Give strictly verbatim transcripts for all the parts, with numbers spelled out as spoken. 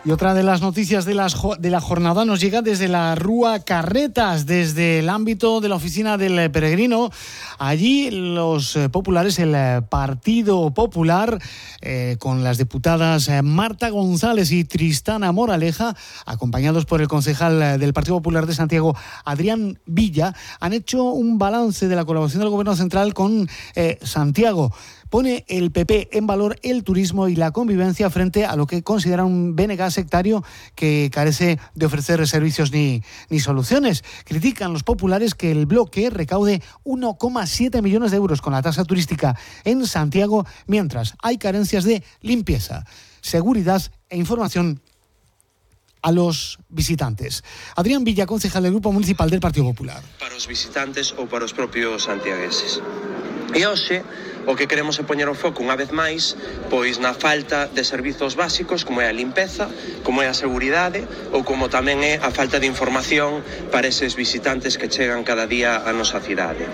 Y otra de las noticias de, las, de la jornada nos llega desde la Rúa Carretas, desde el ámbito de la oficina del Peregrino. Allí los eh, populares, el eh, Partido Popular, eh, con las diputadas eh, Marta González y Tristana Moraleja, acompañados por el concejal eh, del Partido Popular de Santiago, Adrián Villa, han hecho un balance de la colaboración del Gobierno Central con eh, Santiago. Pone el P P en valor el turismo y la convivencia frente a lo que considera un B N G sectario que carece de ofrecer servicios ni, ni soluciones. Critican los populares que el bloque recaude uno coma siete millones de euros con la tasa turística en Santiago, mientras hay carencias de limpieza, seguridad e información a los visitantes. Adrián Villa, concejal del Grupo Municipal del Partido Popular. Para os visitantes ou para os propios santiagueses. E hoxe o que queremos é poñer o foco unha vez máis pois na falta de servizos básicos como é a limpeza, como é a seguridade ou como tamén é a falta de información para eses visitantes que chegan cada día á nosa cidade.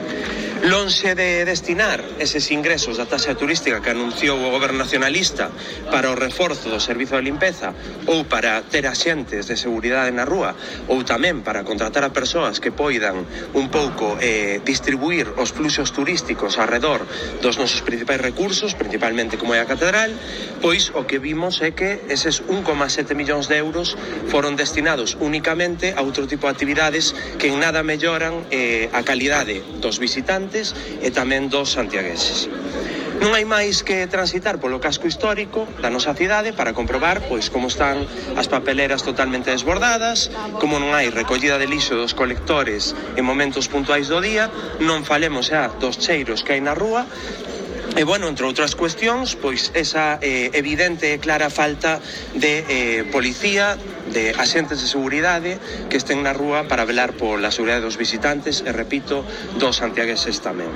Lonxe de destinar eses ingresos da taxa turística que anunciou o Goberno nacionalista para o reforzo do servizo de limpeza ou para ter axentes de seguridade na rúa ou tamén para contratar a persoas que poidan un pouco eh, distribuir os fluxos turísticos arredor dos nosos principais recursos, principalmente como é a catedral, pois o que vimos é que eses un coma sete millóns de euros foron destinados únicamente a outro tipo de actividades que en nada melloran eh, a calidade dos visitantes e tamén dos santiagueses. Non hai máis que transitar polo casco histórico da nosa cidade para comprobar pois como están as papeleras totalmente desbordadas, como non hai recollida de lixo dos colectores en momentos puntuais do día, non falemos xa dos cheiros que hai na rúa. E, bueno, entre outras cuestións, pois esa eh, evidente e clara falta de eh, policía, de axentes de seguridade que estén na rúa para velar pola seguridade dos visitantes e, repito, dos santiagueses tamén.